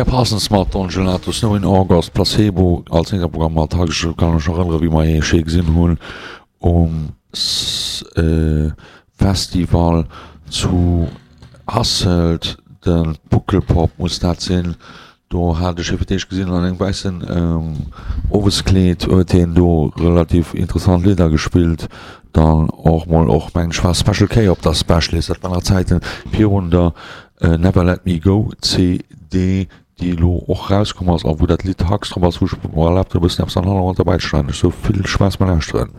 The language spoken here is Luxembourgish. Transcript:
Pierre Parsons mat Don Gelato, Snow in August, Placebo als Programm mat Hag. Ech kann mech nach erënnere wéi mer hie schéi gesinn hunn um Festival zu Hasselt, de Pukkelpop muss dat sinn. Do hat ech hie fir d'éischt gesinn an engem wäissen Oweskleed, huet hien do relativ interessant Lidder gespillt. Dann och mol och mengen ech war Special K op der Specialist, dat war nach Zäiten virun der Never Let Me Go CD, déi elo och rauskomm ass a wou dat Lidd Hugs drop ass, wou ech mer erlaabt hunn e bëssen eppes an Hannergrond derbäi ze schneiden. Ech soe vill Spaass beim Lauschteren.